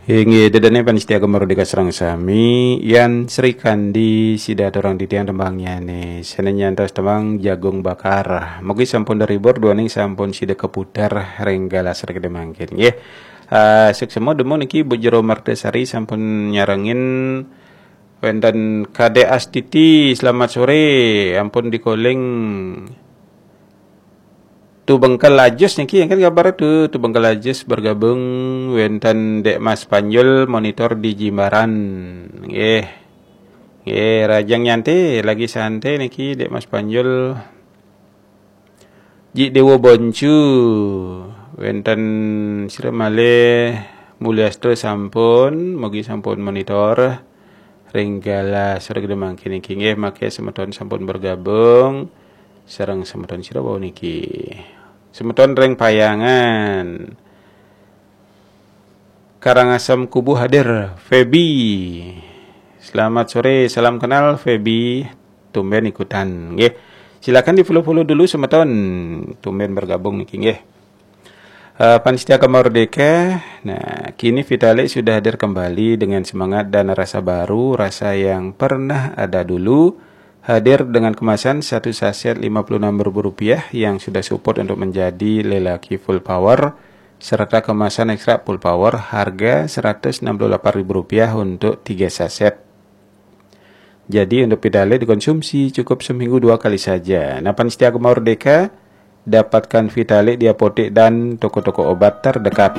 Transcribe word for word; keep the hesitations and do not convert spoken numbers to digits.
Inggih, ida dané pamiarsa Gema Merdeka sareng sami, Yan Srikandi sida aturang titiang tembangnyané. Sané nyantos tembang Jagung Bakar. Mugi sampun terhibur duaning sampun sida keputar ring galah srikidi mangkin. Nggih. Ah, suksma dumun niki Bu Jero Mertasari sampun nyarengin wénten Kadék Astiti, selamat sore, ampun dikoling. Tu Bengkel Ajus niki, kan kabar tu, Tu Bengkel Ajus bergabung, wénten Dék Mas Panjul monitor di Jimbaran. Nggih. Nggih, rahajeng nyantai, lagi santai niki Dék Mas Panjul. Ji Déwa Boncu, wénten sira malih Mulyasta sampun, mugi sampun monitor ring galah srikidi mangkin niki, nggih, mangke semeton sampun bergabung sareng semeton sira wau niki. Semeton ring Payangan. Karangasem Kubu hadir, Feby. Selamat sore, salam kenal Feby. Tumben ikutan, nggih. Silakan di-follow-follow dulu semeton. Tumben bergabung niki, nggih. Eh, pamiarsa Gema Merdeka, nah, kini Vitalik sudah hadir kembali dengan semangat dan rasa baru, rasa yang pernah ada dulu, hadir dengan kemasan satu saset lima puluh enam ribu rupiah yang sudah support untuk menjadi lelaki full power, serta kemasan ekstra full power harga seratus enam puluh delapan ribu rupiah untuk tiga saset. Jadi, untuk Vitalik dikonsumsi cukup seminggu dua kali saja. Nah, pamiarsa Gema Merdeka, dapatkan Vitalik di apotek dan toko-toko obat terdekat.